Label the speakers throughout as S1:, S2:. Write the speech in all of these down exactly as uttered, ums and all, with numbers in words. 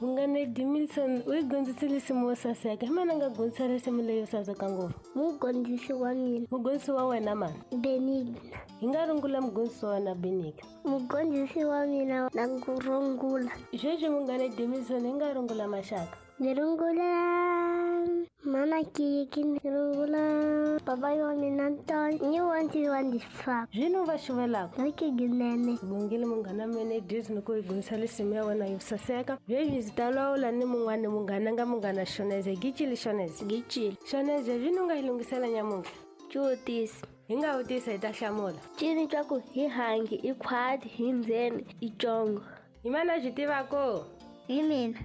S1: Munghana Edmilson u yi dyondzisile nsimu yo saseka. Hi mani a nga dyondzisa risimu leyo saseka ngopfu?
S2: Mugondzisi wa mina.
S1: Mugondzisi wa wena mani?
S2: Benigna.
S1: Hi nga rungula mugondzisi wa wena Benigna.
S2: Mugondzisi wa mina na ku rungula.
S1: Sweswi munghana Edmilson hi nga rungula maxaka.
S2: Ni rungula mama Kiki, ni rungula papa wa mina Ntoni, ni wanti wa ndifaka.
S1: Zwino va xuvelaka?
S2: Vhiki ginene.
S1: Bongile munghana mina Edmilson ku hi dyondzisa risimu ya wena yo saseka. Sweswi ndzi ta lawula ni mun'wana munghana nga munghana Shoneze. Gicile Shoneze.
S3: Gicile.
S1: Shoneze, zwino u nga hi lunghisela nyamuntlha?
S3: Xivutiso.
S1: Hi nga vutisa hi ta hlamula.
S3: Cini xa ku hi hangi i khwati hi ndzeni i congo.
S1: Hi mani a byi tivaka?
S2: Hi mina.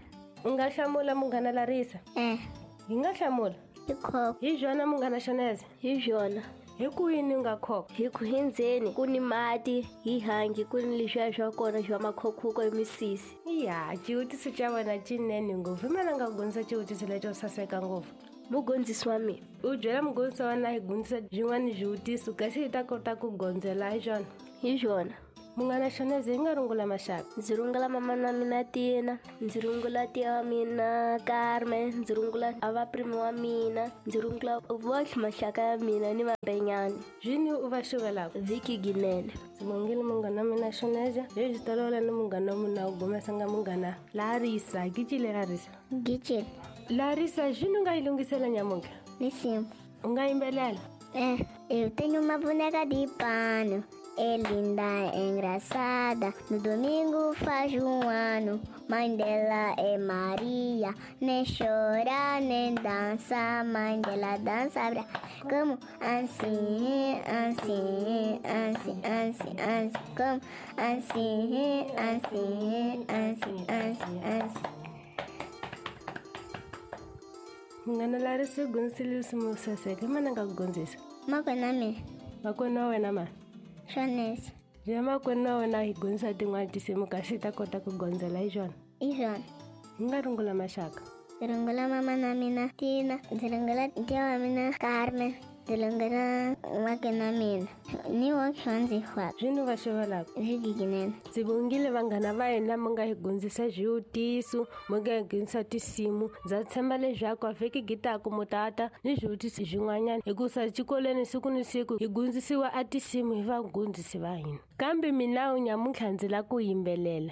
S1: U nga hlamula munghana Larisa?
S2: Eh.
S1: Hi nga hlamula?
S2: Hi khokho.
S1: Hi byona munghana Shoneze?
S3: Hi byona.
S1: Hi ku yini u nga khokho?
S3: Hi ku hi ndzeni ku ni mati, hi hangi ku ni leswiya swa kona swa makhokhuko hi misisi.
S1: Ya, xivutiso xa wena xinene ngopfu. Hi mani a nga dyondzisa xivutiso lexo saseka ngopfu?
S3: Mugondzisi wa mina.
S1: U byela mugondzisi wa wena hi dyondzisa byin'wana swivutiso kasi hi ta kota ku gondzela hi swona.
S3: Hi swona.
S1: Munghana Shoneze, hi nga rungula maxaka?
S3: Ndzi rungula mama na mina Tina, ndzi rungula tiya wa mina Carmen, ndzi rungula a vaprimi wa mina, ndzi rungula vohle maxaka ya mina ni vambenyani.
S1: Zwini u va xuvelaka?
S3: Vhiki ginene.
S1: Ndzi bongile munghana wa mina Shoneze. Sweswi ta lawula ni munghana wa mina u gomesa nga munghana Larisa. Gicile Larisa.
S2: Gicile.
S1: Larisa, zwini u nga yi lunghisela nyamuntlha?
S2: Risimu.
S1: U nga yimbelela?
S2: Eh, eu tenho uma boneca de pano. É linda, é engraçada. No domingo faz um ano. Mãe dela é Maria. Nem chora, nem dança. Mãe dela dança bra. Como assim, assim, assim, assim, assim. Como assim, assim, assim, assim, assim.
S1: Munghana Larisa u dyondzisile risimu yo saseka. Hi mani a nga ku dyondzisa?
S2: Makwenu wa mina.
S1: Makwenu wa wena mani?
S2: Shoneze.
S1: Byela makwenu wa wena hi dyondzisa tin'wana tinsimu kasi hi ta kota ku gondzela hi swona.
S2: Hi swona.
S1: Hi nga rungula maxaka?
S2: Ndzi rungula mama na mina Tina, ndzi rungula tiya wa mina Carmen, ndzi rungula makwenu wa mina ni woxe wa ndzi xwaka.
S1: Zwini va xuvelaka?
S2: Vhiki ginene.
S1: Ndzi bongile vanghana va hina mi nga hi dyondzisa swivutiso, mi nga hi dyondzisa tinsimu. Ndza tshemba leswaku a vhiki gitaku mu tata ni swivutiso swin'wanyana hikusa xikolweni siku ni siku hi dyondzisiwa a tinsimu hi vadyondzisi va hina. Kambe mina nyamuntlha ndzi lava ku yimbelela.